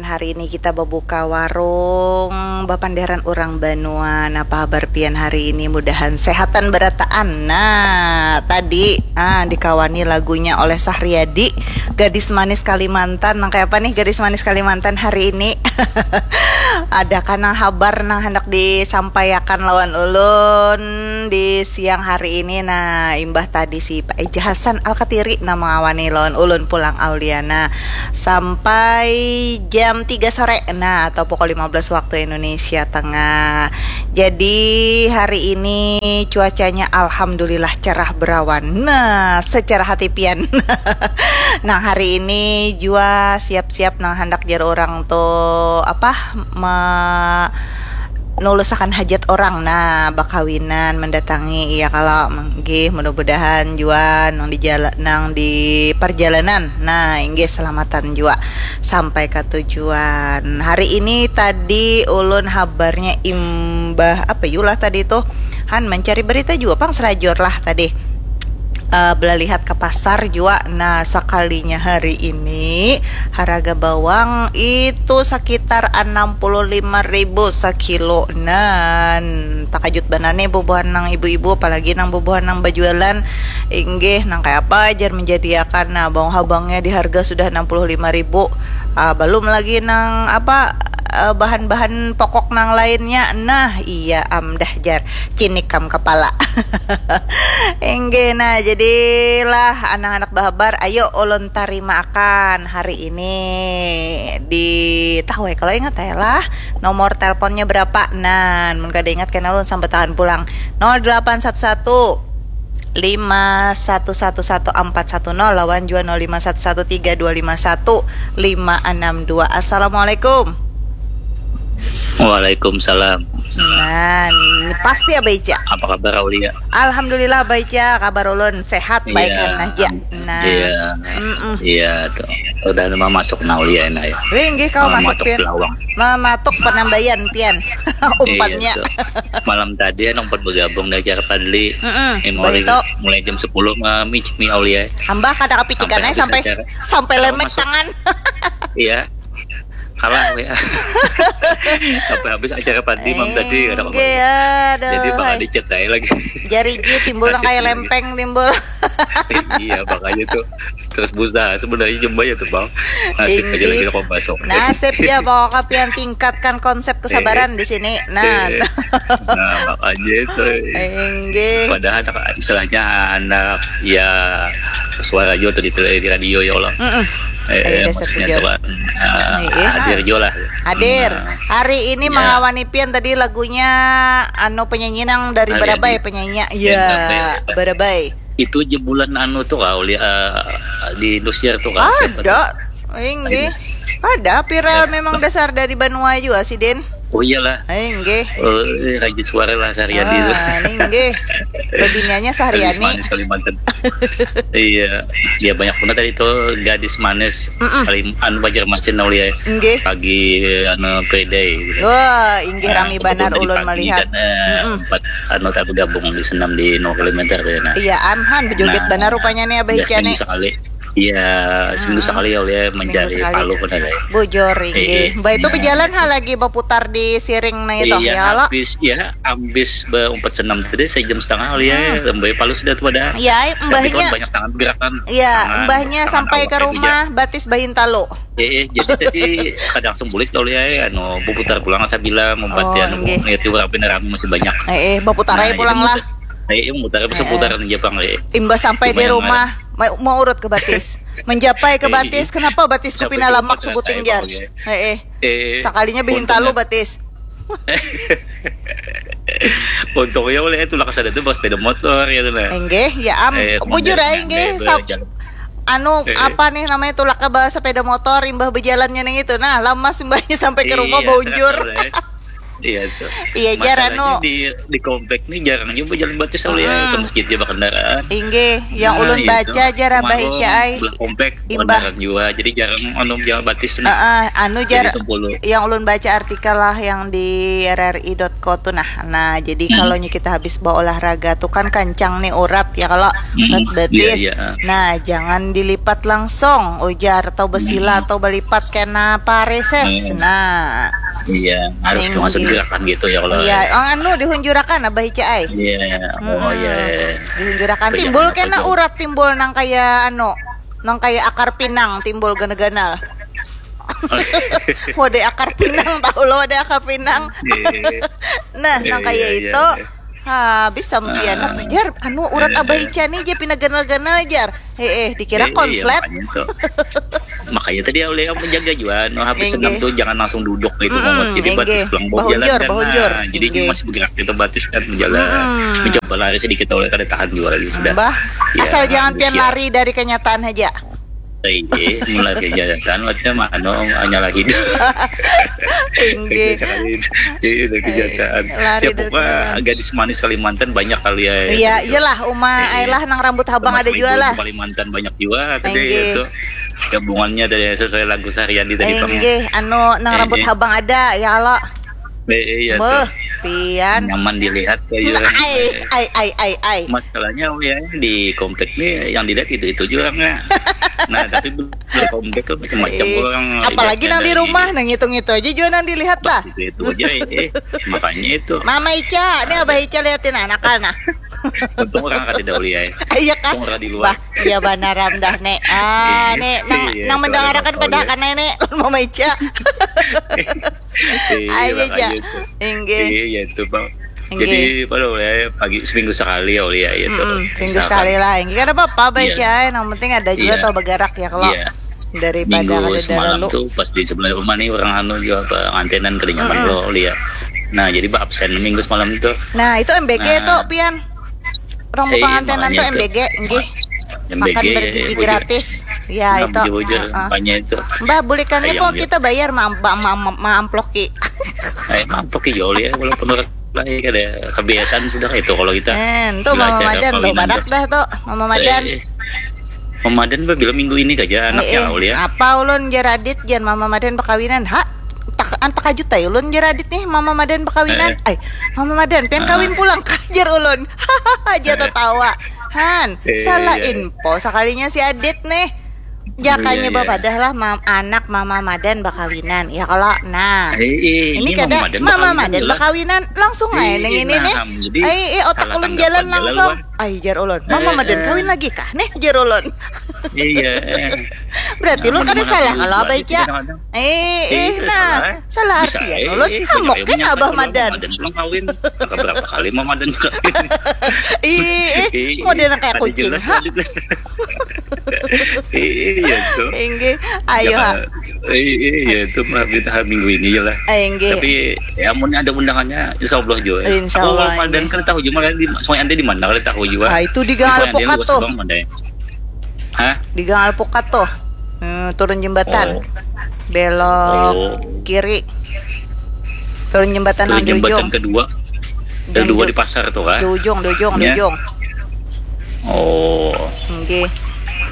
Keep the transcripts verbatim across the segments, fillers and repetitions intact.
Hari ini kita babuka warung bapanderan urang banua. Napa habar pian hari ini? Mudahan sehatan barataan. Nah, tadi ah, dikawani lagunya oleh Sahriadi, Gadis Manis Kalimantan. Nang kaya apa nih Gadis Manis Kalimantan hari ini? Adakah nang habar nang handak disampaiakan lawan ulun di siang hari ini? Nah, imbah tadi si Pak Eja Hasan Alkatiri nang mangawani lawan ulun pulang Auliana sampai jam tiga sore, nah, atau pukul lima belas waktu Indonesia Tengah. Jadi hari ini cuacanya alhamdulillah cerah berawan. Nah, secerah hati pian. Nah, hari ini jua siap-siap nang handak jar orang tuh apa me nulusakan hajat orang, nah, bakawinan, mendatangi, iya kalo, nggih, mudah-mudahan jua nang di jala, nang di perjalanan, nah, inggih, selamatan jua sampai ke tujuan. Hari ini tadi ulun habarnya imbah apa yulah tadi tuh, han mencari berita jua pang selajur lah tadi. Eh, belalihat ke pasar jua. Nah, sekalinya hari ini haraga bawang itu sekitar enam puluh lima ribu sekilo. Nah, takajut banar nih bubuhan nang ibu-ibu, apalagi nang bubuhan nang bajualan. Inggih, nang kaya apa jar menjadiakan. Nah, bawang habangnya di harga sudah enam puluh lima ribu. Ah, belum lagi nang apa eh, bahan-bahan pokok nang lainnya. Nah, iya am dah jar. Cinik kam kepala. Inggih, nah, jadilah anak-anak bahabar, ayo ulun tarima akan hari ini di tahu ya kalau ingat ya lah nomor teleponnya berapa. Nah, mun kada ingat kena ulun sambat tangan pulang. Nol delapan satu satu lima satu satu satu empat satu nol lawan jua nol lima satu satu tiga dua lima satu lima enam dua. Assalamualaikum. Waalaikumsalam. Nah, pasti Abah Ica. Apa kabar Aulia? Alhamdulillah Abah Ica, kabar ulun sehat, baik kan nah ja. Nah. Iya. Iya tuh. Udah mau masuk nah Aulia nah ya. Wih, nggih kau masuk Matuk pian. Belawang. Mematuk penambayan pian. Umpannya. Iya, tuh. Malam tadi nang pan bergabung di acara Padli. Mm-mm, Ini Bah mulai, Ito. mulai jam sepuluh mami mi Aulia. Ambah kada kepikiran Sampai aja sampai habis acara. sampai Kalau lemek masuk- tangan. Iya. Kalah ya. Sampai habis acara Padli malam tadi kada Enggak kabar. Ya, aduh. Jadi bakal Hai. Di-chat aja lagi. Jari ji timbul nang Nasib kayak lagi. Lempeng timbul. Iya makanya tuh. Terus busa sebenarnya jemba ya tuh bang. Nasib aja Inggih. Lagi kau masuk. Nasib ya pokoknya pian tingkatkan konsep kesabaran di sini. Nah, Eh, nah makanya itu. Enggih. Padahal anak, istilahnya anak ya suara juga tuh di, tele- di radio ya Allah. Mm-mm. Eh, Ayo, dasar maksudnya bujur. Tuhan eh, Iya. Hadir juga lah. Hadir. Nah, Hari ini Ya. mangawani pian tadi lagunya anu penyanyi nang dari Hari Barabai Adi. penyanyi. Ya, Ya, Barabai. Barabai. Itu jebolan anu tuh kau lihat eh, di Indosiar tuh kan siapa tuh? Ada. Inggih. Ada viral memang dasar dari Banua juga sih, Din. Oh iyalah. Inggih. Eh, Raja Suara lah sehari-hari itu. Ah, ini inggih. Bebiniannya Gadis Sahriani. Manis Kalimantan. Iya, dia banyak benar tadi tuh gadis manis Mm-mm. Kalim anu Banjarmasin Aulia. Inggih. Pagi anu Friday gitu. Wah, inggih Nah, rami kebetulan banar tadi ulun pagi melihat. Kan, eh, Mm-mm. Empat anu tak bergabung di senam di No Kilometer ya, nah. Iya, amhan bejoget Nah, banar rupanya nih Abah Ya, Ica nih. Seminggu sekali. Iya, seminggu Ah, sekali ya Aulia mencari sekali. Palu kan ada. Bujur inggih. Iya. Mbak itu Nah. Berjalan ha lagi berputar di siring nah itu Iya, ya lo. Habis ya, habis berempat senam tadi saya jam setengah Aulia, Hmm. Lembai Palu sudah tuh pada. Ya, Tapi mbahnya kan banyak tangan gerakan. Ya, Tangan, mbahnya tangan sampai awak ke itu rumah batis bahin talu. Eh, eh, jadi tadi kada langsung bulik Aulia, eh, anu, berputar pulang sabila membuat Oh, ya, anu, inggih. Lihat orang beneran masih banyak. Eh, eh, berputar Nah, aja jadi pulang lah. muter- Eh, eh, muter Eh, eh. seputaran aja bang, eh. Imbah sampai di Lumayan rumah, mau, mau urut ke batis. Menjapai ke Eh, batis, kenapa batisku sampai pina di lamak rumah sebuting terasa jar? emang, ya. Eh, eh. Eh, Sekalinya bihin talu untungnya- batis. Untungnya oleh itu lah kesana tuh bawa sepeda motor ya tuh nah. Enggeh, ya am, Eh, bujur kemana- aja enggeh. eh, Sap- jalan. Anu, Eh. Apa nih namanya tulak ke bawa sepeda motor, imbah berjalannya neng itu. Nah, lamas imbahnya sampai ke rumah Iya, baunjur. Terasa, eh. Iya tuh. Iya, jar, Masalahnya anu. di, di komplek nih jarang juga jalan batis soalnya Mm-mm. ke masjid ya berkendaraan. Inggih, yang Nah, ulun itu. Baca jar, Abah Warung Ica ai. Sebelah komplek Imbah. Kendaraan juga. Jadi jarang anu jalan batis nih. Heeh, anu jar, Jadi itu dulu. Yang ulun baca artikel lah yang di R R I dot iko tu nah. Nah, jadi hmm. Kalau kita habis berolahraga tu kan kancang nih urat ya, kalau urat hmm. Betis. Iya, iya. Nah, jangan dilipat langsung ujar atau besila hmm. Atau belipat kena pareses. Hmm. Nah. Iya, harus masuk gerakan gitu ya kalau. Iya, oh, anu dihunjurakan abah ica ai. Iya. Oh iya. Dihunjurakan timbul kena urat timbul nang kayak anu, nang kayak akar pinang timbul ganal-ganal. Wadah akar pinang tahu lo, wadah akar pinang. Nah, nang kayak itu. Habis sampian apa jar? Anu urat abah ica nih je pina ganal-ganal jar. Heeh, dikira konslet. Makanya tadi oleh yang menjaga juga, no, habis senam tuh jangan langsung duduk gitu, jadi batis pulang bawa jalan kan. Bahunjur. Jadi masih bergerak gitu batis kan, menjalan. Mencoba lari sedikit oleh kada tahan juga lagi sudah. Bah, asal jangan pian lari dari kenyataan aja. Iya, mulai kenyataan, maksudnya mah anu hanya lagi. Inggih. Iya, kenyataan. Lari ya, dari pokoknya kenyataan. Gadis manis Kalimantan banyak kali ya. Iya, iyalah, Uma Ailah nang rambut habang ada juga lah. Kalimantan banyak juga tadi itu. Gabungannya dari sesuai lagu Sariandi tadi. Inggih, anu nang rambut habang ada ya Allah. Iya tuh. Pian nyaman dilihat kayak. Ai ai ai ai ai. Masalahnya ya di komplek nih yang dilihat itu itu juga nggak. Nah tapi belum komplek tuh macam-macam orang. Apalagi nang di rumah, nang ngitung itu aja juga nang dilihat lah. Itu itu aja eh. Makanya itu. Mama Ica, nih Abah Ica liatin anak nah. Untung orang kada dahulu ya. Iya kah? Untung orang di luar. Bah, iya banaram dah nek. Ah, nek nang nang mendengarakan pada akan nenek Mama Ica. Ayo ja. Inggih. Iya itu bang. Jadi pada oleh pagi seminggu sekali ya oleh ya itu. Seminggu sekali lah. Inggih kada apa-apa baik ya. Yang penting ada juga tau bergerak ya kalau daripada minggu semalam tuh pas di sebelah rumah nih orang anu juga apa ngantenan kada nyaman loh oleh ya. Nah jadi absen minggu semalam itu. Nah itu M B G tuh pian. Orang pengantenan tuh M B G, nggih. Makan bergizi gratis. Ya itu. Makanya itu. Mbah bulikannya kok kita bayar mamploki. Ayo mamploki jol ya walaupun orang lah ya kada kebiasaan sudah itu kalau kita. Eh, itu Mama Madan tuh badak dah tuh, Mama Madan. Mama Madan bila minggu ini saja anaknya ya. Apa ulun jaradit jan Mama Madan bakawinan. Ha? Antak aja tai ulun jaradit nih Mama Madan bakawinan. Ai, Mama Madan pian kawin pulang kajar ulun. Hahaha aja tatawa. Han, salah info sakalinya si Adit nih. Jakanya bapadah lah anak Mama Madan bakawinan. Ya kalau nah. Ini kada Mama Madan bakawinan langsung aja nang ini nih. Ai, otak ulun jalan langsung. Ai jar ulun. Mama Madan kawin lagi kah nih jar ulun. Iya. Berarti ulun kada salah kalau Abah Ica. Eh, eh, nah, salah artian ulun. Hamok kan Abah Madan. Madan pulang kawin. Berapa kali Mama Madan kawin? Ih, eh, model kayak kucing. Iya tuh. Inggih, ayo ha. Iya itu mah kita minggu ini je lah. Inggih. Tapi ya mun ada undangannya insya Allah juga. Insya Allah. Aku Madan kan tahu juga di Sungai Ande di mana kalau tahu juga. Ah itu di Gang Alpukat tuh. Hah? Di Gang Alpukat tuh. Hmm, turun jembatan. Oh. Belok oh. Kiri. Turun jembatan turun yang jembatan di ujung. Kedua. Kedua di pasar tuh kan? Di ujung, di ujung, ya. Di ujung. Oh. Oke.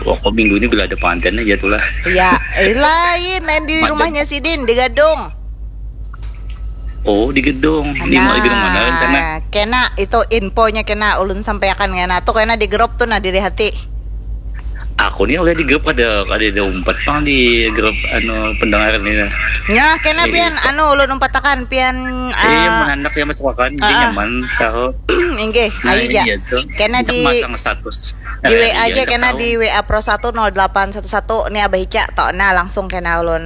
Pokok minggu ini bila ada pengantin aja tuh lah. Iya, eh, lain, lain di rumahnya sidin di Gadung. Oh di gedung, di mau di gedung mana rencana? Kena itu infonya kena ulun sampaikan kena tuh kena di grup tuh nah diri hati. Aku nih oleh di grup ada ada ada umpat pang di grup anu pendengar nih. Nah. Ya kena eh, pian itu. Anu ulun umpatakan pian. Iya uh, menandak ya masuk akan uh, nyaman tahu. Inggih, nah, ayo ja. Iya, kena di masang status. Di W A aja kena di W A Pro satu nol delapan satu satu nih Abah Ica toh nah langsung kena ulun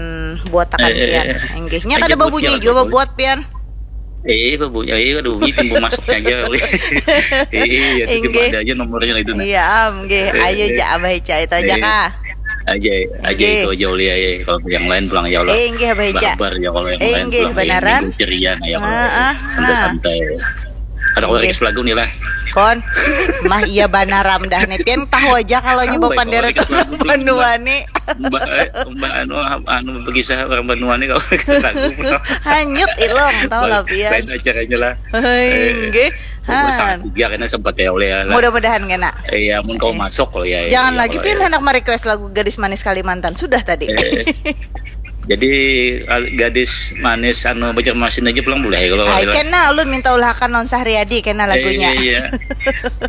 buat tekan eh, pian. Eh, eh. Inggihnya kada babunyi juga buat pian. Eh, babunyi, eh, ada bunyi timbul masuknya aja. Eh, ya, tiba ada aja nomornya itu nah. Iya, am, nggih. Eh, ayo eh. Ja Abah Ica itu aja eh. Kah. Aja, aja itu aja oleh ya. Kalau yang lain pulang ya Allah. Eh, nggih Abah Ica. Barbar ya kalau yang eh, lain nggih, pulang. Benaran. Ceria nah ya kalau santai-santai. Ada kalau request lagu nih lah. Kon, mah iya banaram dah nih. Pian tahu aja kalau nyoba panderan orang banua nih. Mbak, eh, mbak anu, anu berkisah orang banua nih kalau lagu. Hanyut ilong, tahu lah pian. Lain acaranya lah. Hei, eh, nggih. Han. Tiga kena sempat ya oleh ya. Mudah-mudahan kena. Iya, mun kau masuk kalau ya. Jangan ya, lagi pian ya. Hendak merequest lagu Gadis Manis Kalimantan sudah tadi. Eh. Jadi, al- gadis manis anu Banjarmasin aja pulang boleh kalau Ai Aulia. Kena ulun minta ulahakan lawan Sahriadi kena lagunya. Iya, iya.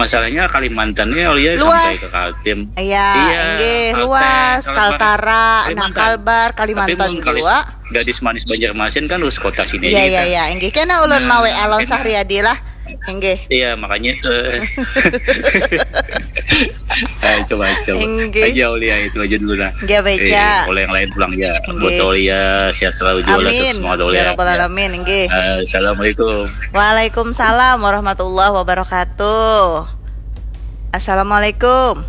Masalahnya Kalimantan ini Aulia sampai Luas. Ke Kaltim. Iya, inggih, Kalteng, luas, Kalbar, Kaltara, nah Kalimantan. Kalbar, Tapi Kalimantan jua. Gadis manis Banjarmasin kan harus kota sini Iya, aja iya, kita. Iya, inggih. Kena ulun Nah, mawe alon enak. Sahriadi lah. Inggih. Iya, makanya itu. Ayo, coba, coba. Inggih. Aja Aulia itu aja dulu lah. Inggih, baca. Eh, kalau yang lain pulang ya. Inggih. Buat Aulia, sehat selalu juga lah, Amin. semua Ya Aulia. Rabbal Alamin, inggih. Eh, Assalamualaikum. Waalaikumsalam warahmatullahi wabarakatuh. Assalamualaikum.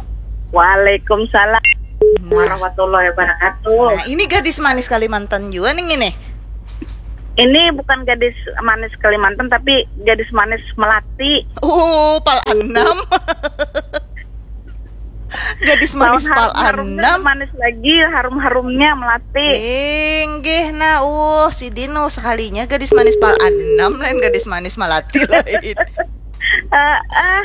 Waalaikumsalam Nah, warahmatullahi wabarakatuh. Nah, ini gadis manis Kalimantan juga nih ini. Ini bukan gadis manis Kalimantan, tapi gadis manis Melati. Oh, pal enam. Gadis manis Lawan pal harum-harumnya enam. Manis lagi, harum-harumnya Melati. Inggih, nah, uh, si Dino sekalinya gadis manis pal enam lain gadis manis Melati lain. Eh, eh,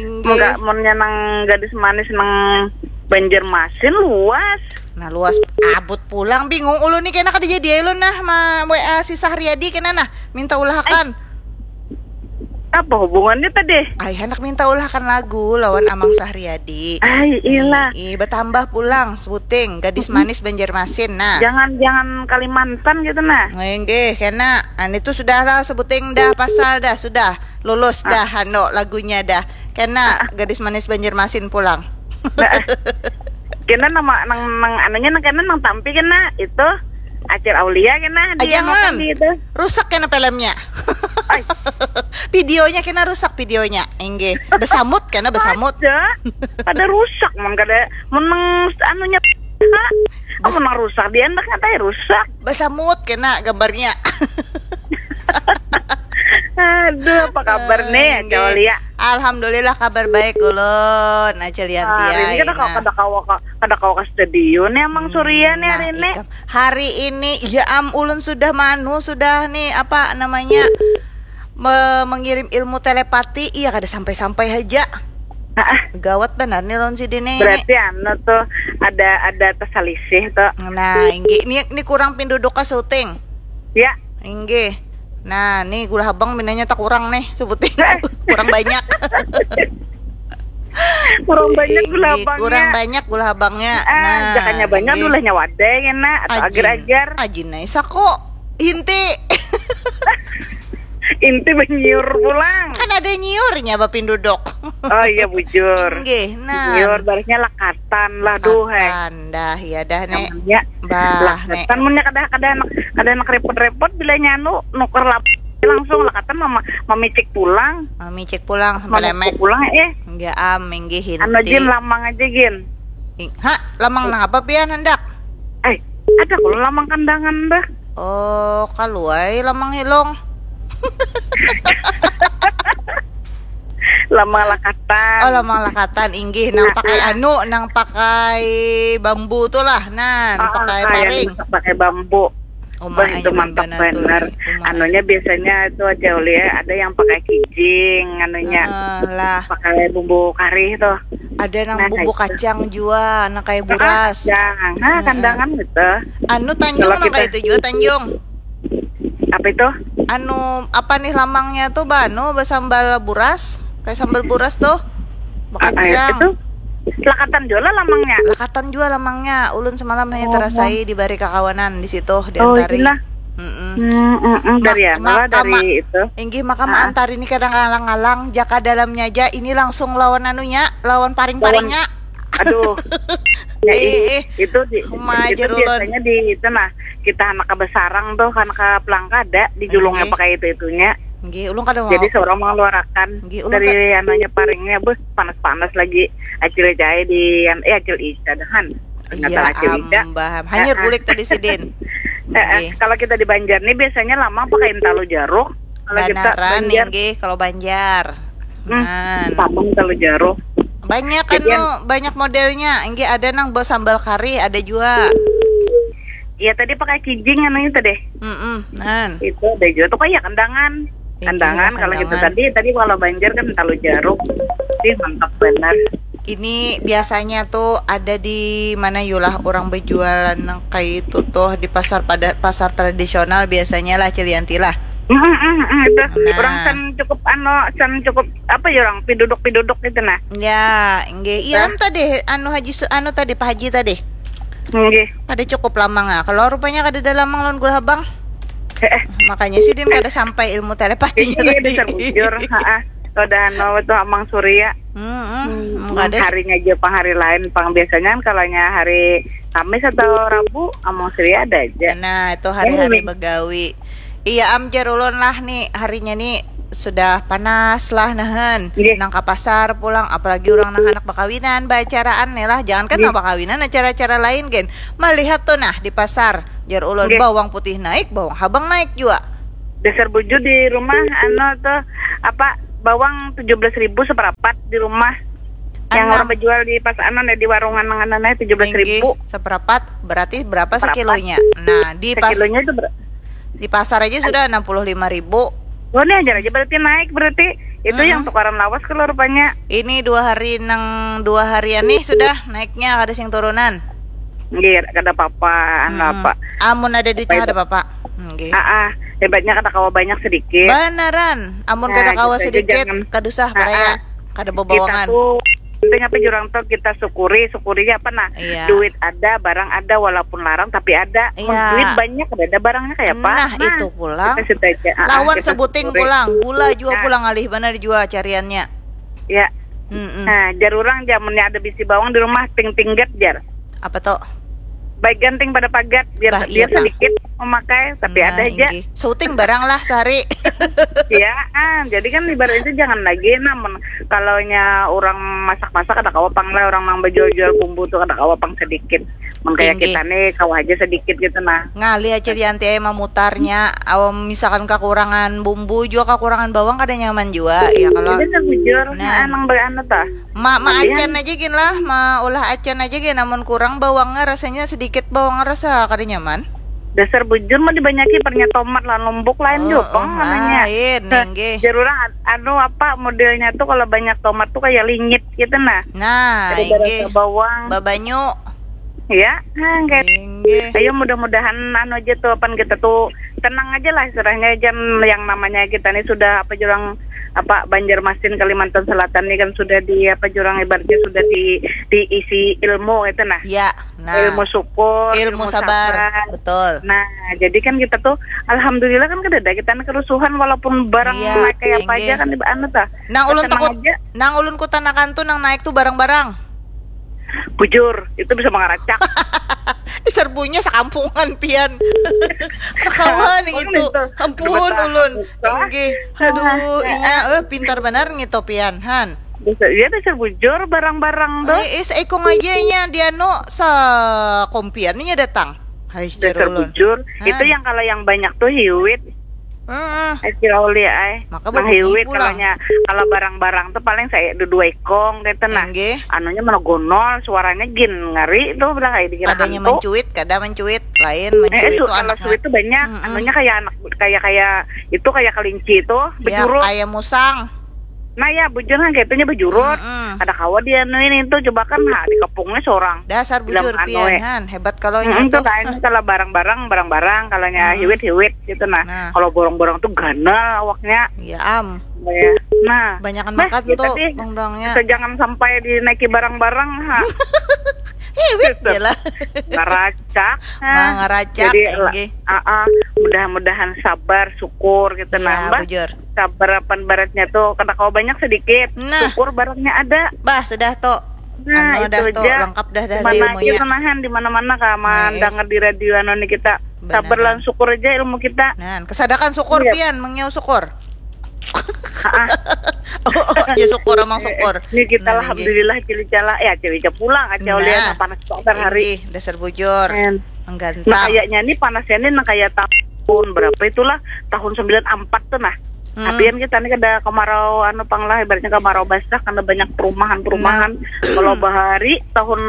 Inggih. Enggak, mun nang gadis manis nang Banjarmasin luas. Nah, luas abut pulang, bingung ulun nih, kena kada jadi ulun nah ma W A si Sahriadi kena nah minta ulahakan. Apa hubungannya tadi? Ai, hendak minta ulahakan lagu lawan Amang Sahriadi. Ai, ilah. Ih, ih, bertambah pulang sebuting gadis manis Banjarmasin nah. Jangan jangan Kalimantan gitu nah. Inggih, kena. Anu itu sudah lah sebuting dah pasal dah, sudah lulus dah anu lagunya dah. Kena gadis manis Banjarmasin pulang. Kena nama nang nang anunya nang kena nang tampi kena itu Acil Aulia kena Ah, dia jangan. Makan di itu. Rusak kena filmnya. Ai. Videonya kena rusak videonya. Inggih. Besamut kena besamut. Aja. Kada rusak mun kada mun nang anunya ha, Bes- mun nang rusak dia hendak ngatai rusak. Besamut kena gambarnya. Aduh, apa kabar nih, Inggih. Acil Aulia? Alhamdulillah kabar baik ulun. Acil Yanti Hari ini ai, kada kawa nah. kada kawa kada kawa ke studio nih Amang Surya nih hari Nah, ini. ikam. Hari ini ya am ulun sudah manu sudah nih apa namanya me- mengirim ilmu telepati, iya kada sampai-sampai aja. Ah, Gawat benar nih lawan si Dini ini. Berarti anu tuh ada ada tersalisih tuh. Nah, inggih ini ini kurang pinduduk ke syuting. Ya, Inggih. Nah, nih gula habang minanya tak kurang nih sebuting. Kurang banyak. kurang banyak gula Inggih, habangnya. Kurang banyak gula habangnya. Ah, Nah, jakanya banyak inggih. Dulahnya wadai kena atau Ajin. Agar-agar. Ajin ai sako. Inti. Inti banyiur pulang. Kan ada nyiurnya bapinduduk. Oh iya bujur. Inggih, nah. Nyiur barisnya lakatan lah duh heh. Lakatan dah, ya dah nek. Namanya Bah, nek. lakatan munnya kada kada anak kada anak repot-repot bila nyanu nuker lap langsung lakatan mama mamicik pulang. Mamicik pulang sampai Mamicik lemek. Pulang eh. Enggak am, inggih Anu inti. Jin lamang aja Gin. Ing- Ha, lamang nang apa pian hendak? Eh, ada kalau lamang kandangan dah. Oh, kaluai lamang hilong. Lamang lakatan. Oh, lamang lakatan inggih nang pakai anu, nang pakai bambu tu lah. Nah, nang Ah, pakai ah, paring. Yang pakai bambu. Uma Wah, itu aja mantap benar tu. benar. Uma. Anunya biasanya itu aja Uli ya, ada yang pakai kijing anunya. Ah, lah, Pakai bumbu kari tuh. Ada nang Nah, bumbu itu. Kacang jua, nang kayak buras. Kacang. Nah, kandangan gitu. Anu Tanjung Kalau nang kita- kayak itu jua Tanjung. Apa itu? Anu apa nih lamangnya tuh banu basambal buras, kayak sambal buras tuh. Ah, eh, Bakacang. Itu lakatan jua lah lamangnya. Lakatan jua lamangnya. Ulun semalam hanya Oh. terasai dibari kakawanan di situ di Oh, Antari. Gina. Mm-mm. Hmm, mm, mm, dari Ma- anu lah, makam- dari itu. Inggih makam Ah. Antari ini kadang ngalang-ngalang jaka dalamnya aja ini langsung lawan anunya, lawan paring-paringnya. Aduh. Ya, Eh, ih, eh. Itu di Uma itu aja ulun. Biasanya di itu nah, kita anak ke besarang tuh kan ke pelangka ada dijulungnya Inggih. Pakai itu itunya. Inggih, ulun kada mau. Jadi seorang mengeluarkan Inggih, ulun dari ka- anunya paringnya beuh panas-panas lagi. Acil Jai di eh Acil Ica dahan. Ternyata Iya, Acil Ica. ambah. Hanyar Ah, ah. Bulik tadi sidin. Eh, eh, Inggih. Kalau kita di Banjar nih biasanya lamang pakai intalu jaruk. Kalau kita Banaran Banjar, inggih kalau Banjar. hmm, Nah. Lamang intalu jaruk. Banyak Jadi anu, banyak modelnya. Inggih ada nang bawa sambal kari, ada juga. Iya tadi pakai kijing anunya tadi. Mm-mm, nan. Itu ada juga tuh kayak kandangan. Iya, Kandangan kalau kita kandangan. Tadi tadi kalau Banjar kan talu jaruk. Ih mantap benar. Ini biasanya tuh ada di mana yulah orang berjualan kayak itu tuh di pasar pada pasar tradisional biasanya lah Cilianti lah. Mm, mm, mm, itu Nah. Orang san cukup ano san cukup apa ya orang piduduk-piduduk gitu nah. Ya, nggih. Iya, am tadi anu Haji Su- anu tadi Pak Haji tadi. Nggih. Kada cukup lamang ah. Kalau rupanya kada ada lamang lawan gula habang. Eh, eh. Makanya sidin kada sampai ilmu telepatinya Iya, tadi. Dasar bujur. Heeh. Udah anu tuh Amang Surya. Hmm, hmm. Hmm, Kada sih. Harinya aja pang hari lain pang biasanya kan kalanya hari Kamis atau Rabu Amang Surya ada aja. Nah, itu hari-hari Ini. Begawi. Iya, am jar ulun lah nih harinya nih sudah panas lah nahan Nggih. Nang ke pasar pulang, apalagi orang nang anak bakawinan baacaraan nih lah. Jangan kan nang bakawinan, acara-acara lain gen melihat tuh nah di pasar, jar ulun. Nggih. Bawang putih naik, bawang habang naik juga. Dasar bujur di rumah anu tuh apa bawang tujuh belas ribu seperapat di rumah. Yang Anak. Orang berjual di pas anu nih, di warungan nang anu nih tujuh belas ribu. Seperapat berarti berapa Seperapat. Sekilonya? Nah, di pas Sekilonya itu ber- di pasar aja sudah enam puluh lima ribu. Oh, ini ajar aja berarti naik berarti. Itu yang tukaran lawas kalau rupanya. Ini dua hari nang dua harian nih sudah naiknya, kada sing turunan. Nggih, kada apa-apa, anu Hmm. apa. Amun ada duitnya Apa kada apa-apa. Hmm, nggih. Ah, ah, hebatnya kada kawa banyak sedikit. Banaran, amun Nah, kada kawa gitu aja, sedikit, jangan. kada usah Ah, baraya, ah. kada Kita babawangan. Tuh penting apa jurang tuh kita syukuri, syukuri apa nah. Iya. Duit ada, barang ada, walaupun larang tapi ada. Mun Iya. Duit banyak ada, ada barangnya kayak apa? Nah, itu pulang. Kita situ aja. Ah, ah, Lawan kita sebuting syukuri. Pulang, gula juga Nah. Pulang alih benar juga cariannya. Ya. Mm-mm. Nah, jar orang jamunnya ada bisi bawang di rumah ting tinggat jar. Apa tuh? Baik ganting pada pagat biar Bah, dia iya, Pak. Sedikit memakai tapi Nah, ada aja. Inggih. Syuting barang lah sehari. Ya, ah, jadi kan ibarat itu jangan lagi namun kalau nya orang masak-masak ada kawa pang lah orang nang berjual-jual bumbu tuh ada kawa pang sedikit. Mun kayak kita nih kawa aja sedikit gitu nah. Ngalih aja Yanti eh memutarnya. Awam misalkan kekurangan bumbu juga kekurangan bawang kada nyaman juga ya kalau. Jadi kan bujur, nah, nang beranu tah. Ma, ma acan aja gin lah, ma ulah acan aja gin. Namun kurang bawangnya rasanya sedikit bawangnya rasa kada nyaman. Dasar bujur mau dibanyaki pernya tomat lah lombok lain oh, juga oh, namanya. Lain, nggih. Jarurang anu apa modelnya tuh kalau banyak tomat tuh kayak lingit gitu nah. Nah, inggih. Bawang. Babanyu. Ya, nah, kayak. Ayo mudah-mudahan anu aja tuh apa kita tuh tenang aja lah istilahnya aja yang namanya kita nih sudah apa jurang apa Banjarmasin Kalimantan Selatan nih kan sudah di apa jurang ibaratnya sudah di diisi ilmu itu nah. Ya, nah. Ilmu syukur, ilmu, ilmu sabar. Sabar. Betul. Nah, jadi kan kita tuh alhamdulillah kan kada ada kita kerusuhan walaupun barang ya, naik kayak apa aja kan anu tah. Nang ulun takut, nang ulun kutanakan tuh nang naik tuh barang-barang. Bujur, itu bisa mengaracak. Serbunya sekampungan pian. Kawan itu. Ampun ulun. Nggih. Aduh, inya eh pintar benar ngitu pian, han. Iya dasar bujur barang-barang tuh. Eh, eh seikung aja inya dia no sekompian inya datang. Hai, dasar bujur. Itu yang kalau yang banyak tuh hiwit. Heeh. Ai kira uli ai. Maka hiwit kalaunya kalau barang-barang tuh paling saya dua ikong gitu nah. Anunya mana gonol suaranya gin ngeri tuh bilang kayak dikira hantu. Adanya mencuit, kada mencuit, lain mencuit eh, itu kalau anak suit tuh banyak. Hmm. Anunya kayak anak kayak kayak itu kayak kelinci itu ya, bejurut. Kayak musang. Nah ya bujur kan kayaknya bejurut. Mm-mm. Ada kawa dia anu ini tuh coba kan nah, di kepungnya seorang. Dasar bujur pian han, hebat kalau hmm, itu. Tuh kan kalau barang-barang barang-barang kalaunya hmm. Hiwit-hiwit gitu nah. Nah. Kalau borong-borong tuh ganal awaknya. Iya am. Ya. Nah, banyakan nah, makan gitu tuh deh. Borong-borongnya. Jangan sampai dinaiki barang-barang ha. Hiwit ya lah. Ngeracak. Nah, ngeracak. Jadi, uh, uh, mudah-mudahan sabar, syukur gitu ya, nah. Mbah, bujur. Sabar apa baratnya tuh kada kawa banyak sedikit. Nah. Syukur barangnya ada. Bah, sudah tuh. Nah, anu dah tuh lengkap dah dah ilmunya. Di mana-mana kaman dengar di radio anu nih kita. Sabar lan syukur aja ilmu kita. Nah, kesadakan syukur iya. Pian mengiau syukur. oh, oh, ya syukur emang syukur. Ini kita nah, alhamdulillah cili cala ya cili pulang aja nah, oleh panas kok hari. Dasar bujur. Menggantang. Nah, kayaknya ini panasnya ini nah, kayak tahun berapa itulah tahun sembilan empat tuh nah. Hmm. Tapi kan kita nih ada kemarau anu pang lah ibaratnya kemarau basah karena banyak perumahan-perumahan. Nah. Kalau bahari tahun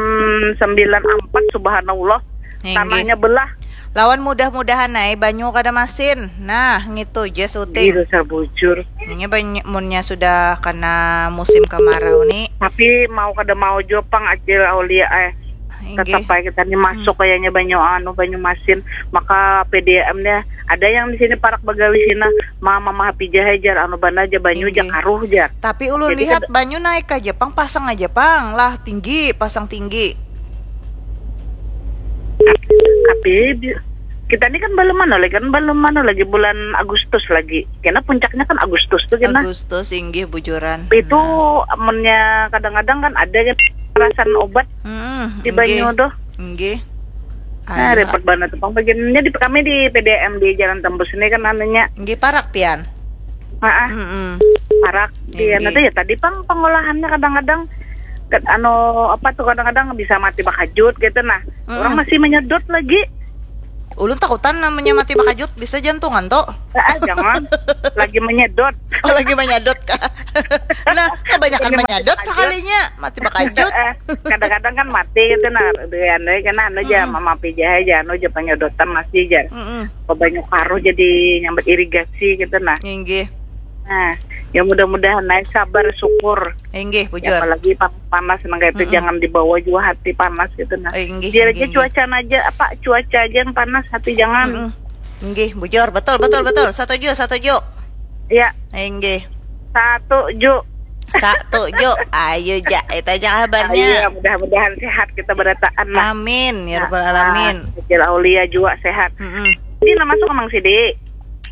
sembilan empat subhanallah tanahnya belah. Lawan mudah-mudahan ai banyu kada masin. Nah, ngitu ja suting. Gila sabujur. Nya banyu, munnya sudah kena musim kemarau ni. Tapi mau kada mau jua pang Acil Aulia eh. Inggih. Tetap ai kita ni masuk hmm. Kayaknya banyu anu banyu masin. Maka P D M nya ada yang di sini parak bagalih sini. Mama mama pijah aja anu bana aja banyu aja karuh aja. Tapi ulun lihat banyu naik aja pang pasang aja pang lah tinggi pasang tinggi. Tapi kita ni kan belum mana lagi kan belum mana lagi bulan Agustus lagi. Karena puncaknya kan Agustus tuh kena. Agustus inggih bujuran. Itu hmm. Amunnya kadang-kadang kan ada kan perasaan obat hmm, di banyu tuh. Inggih. Nah, repot banget tuh. Pang bagiannya di kami di P D M di Jalan Tembus ini kan anunya. Inggih parak pian. Heeh. Mm -mm. Parak pian itu ya tadi pang pengolahannya kadang-kadang anu apa tuh kadang-kadang bisa mati bakajut gitu nah. Mm -mm. Orang masih menyedot lagi. Ulun takutan namanya mati bakajut bisa jantungan tuh. Ah, jangan. Lagi menyedot. Oh, lagi menyedot kah? Nah, kebanyakan menyedot sekalinya mati bakajut. Kadang-kadang kan mati gitu nah. Dengan kena anu aja mm -mm. Mama pijah aja anu aja penyedotan masih aja. Mm -mm. Banyak karuh jadi nyambat irigasi gitu nah. Inggih. Nah, ya mudah-mudahan naik sabar syukur. Inggih, bujur. Ya, apalagi panas nang kayak itu mm -mm. Jangan dibawa juga hati panas gitu nah. Inggih, biar aja cuaca aja apa cuaca aja yang panas hati jangan. Mm -mm. Inggih, bujur. Betul, betul, betul. Setuju, setuju. Ya. Inggih. Satu ju. Satu ju. Ayo ja, itu aja kabarnya. Ayo, mudah-mudahan sehat kita berataan lah. Amin ya rabbal alamin. Kecil Aulia juga sehat. Mm -mm. Ini nama suka Mang Sidi.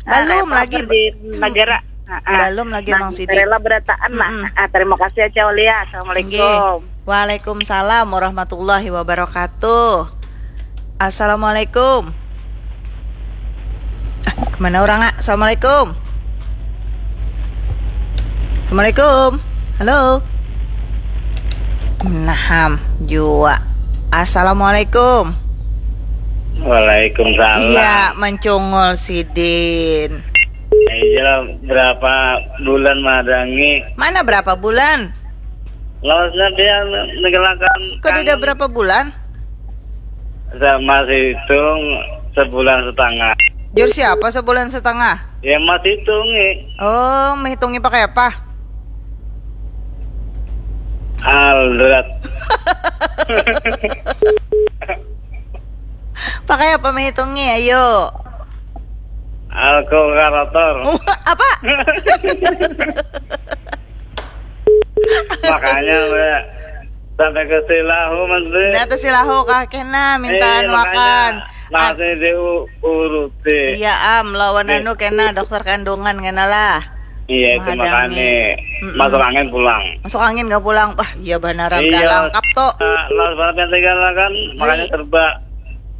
Belum ah, lagi di negara. Belum lagi nah, Mang Siti. Rela berataan lah. Mm -mm. Ah, terima kasih ya Caulia. Assalamualaikum. Inggih. Waalaikumsalam warahmatullahi wabarakatuh. Assalamualaikum. Ah, kemana orang ah? Assalamualaikum. Assalamualaikum. Halo. Naham jua. Assalamualaikum. Waalaikumsalam. Iya, mencungul sidin. Iya, berapa bulan madangi? Mana berapa bulan? Lawasnya dia menggelakan. Kok dia berapa bulan? Saya masih hitung sebulan setengah. Jur siapa sebulan setengah? Ya masih hitungi. Oh, menghitungi pakai apa? Aldrat. Pakai apa menghitungi? Ayo. Kalkulator. Apa? Makanya be, sampai ke Silahu mas be. Nah, tuh Silahu kah kena mintaan eh, makan. Masih diuruti. Iya am, lawan eh. Anu kena dokter kandungan kena lah. Iya itu makanya mm -mm. Masuk angin pulang. Masuk angin gak pulang. Wah, iya banaran iya. Gak lengkap tuh. Uh, eh, Lalu yang tinggal kan makanya serba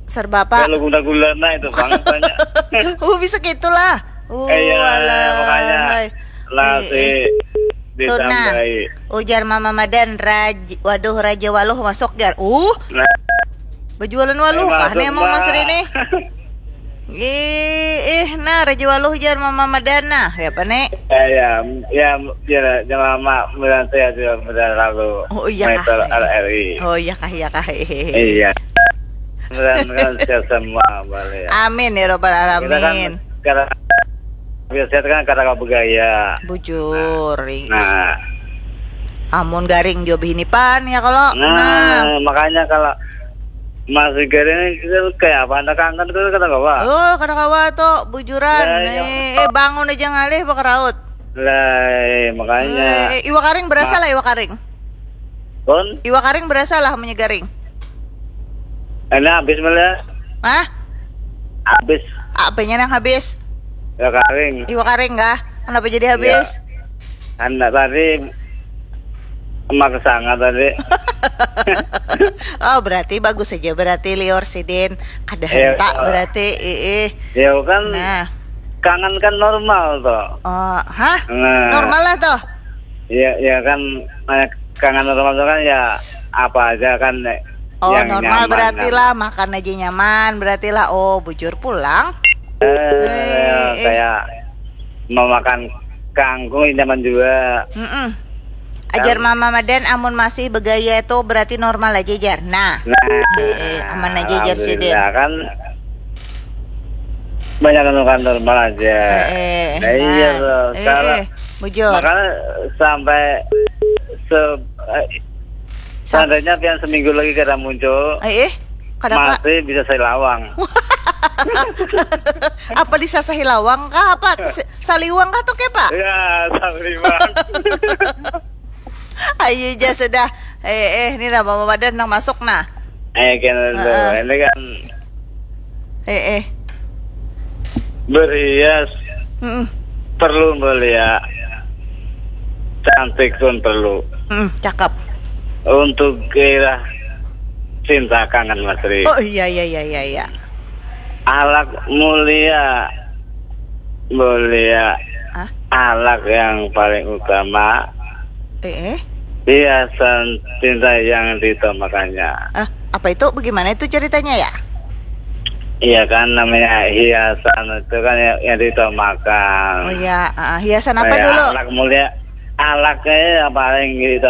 serba apa? Kalau guna-guna nah itu banget banyak. Oh, bisa gitulah. Oh, eh, iya, alah. Makanya lah si ditambahi. Ujar Mama Madan, raj, waduh Raja Waluh masuk jar. Uh. Nah. Berjualan waluh eh, kah nih emang Mas Rini? Ih, ih, nah Raja Waluh jar Mama Madan nah, ya apa nih? Ya, ya, ya, ya, ya Mama Madan saya juga Madan lalu. Oh iya kah. R R I. Oh iya kah, iya kah. Iya. Mudah-mudahan sehat semua balik. Amin ya robbal alamin. Kita kan biasanya kan kata bergaya. Bujur. Nah. Amun garing juga begini pan ya kalau. Nah, nah. Makanya kalau masih garing itu kayak apa anda kangen tuh kata kawa. Oh, kata kawa tuh bujuran. Ya, eh, eh, bangun aja ngalih bakaraut. Lah, eh, makanya. Eh, eh, iwa karing berasa nah. Lah iwa karing. Pun? Iwa karing berasa lah menyegaring. Ini habis melihat. Hah? Habis. Apanya yang habis? Iwa karing. Iwa karing kah? Kenapa jadi habis? Ya. Anak tadi emak kesanga tadi. Oh, berarti bagus saja berarti liur sidin. Ada ya, hentak ya. Berarti iih. Ya kan. Nah. Kangen kan normal tuh. Oh, hah? Nah. Normal lah tuh. Iya, ya kan kangen normal tuh kan ya apa aja kan. Oh, yang normal nyaman, berarti nyaman. Lah makan aja nyaman, berarti lah oh bujur pulang. Eh, eh, eh. Kayak memakan kangkung nyaman juga. Mm -mm. Ajar kan. Mama Madan amun masih begaya itu berarti normal aja jar. Nah. Nah. Eh, eh, aman aja jar sidin. Kan Banyak anu kan normal aja. Eh, eh, Nah, iya nah. loh, Eh, salah. eh, bujur. Makanya sampai se eh, Sa- seandainya pian seminggu lagi kada muncul, Eh, eh, kenapa? Masih bisa saya lawang. Apa disasahi lawang kah? Apa? Se- Saliwang kah tuh, Kepa? Ya, saliwang. Ayo aja sudah. Eh, eh, ini dah Mama Badan nang masuk nah. Eh, kan itu. Heeh. Ini kan Eh, eh. Berhias Mm-mm. Perlu mulia. Cantik pun perlu. Mm, cakep. Untuk gairah cinta kangen Mas Ri. Oh iya iya iya iya iya. Alak mulia. Mulia. Ah, Alak yang paling utama. Eh, eh. Hiasan cinta yang diutamakannya. Ah, apa itu? Bagaimana itu ceritanya ya? Iya kan, namanya hiasan itu kan yang, yang diutamakan. Oh ya, ah, hiasan apa Kayak dulu? Alak mulia. Alaknya yang paling diutamakan.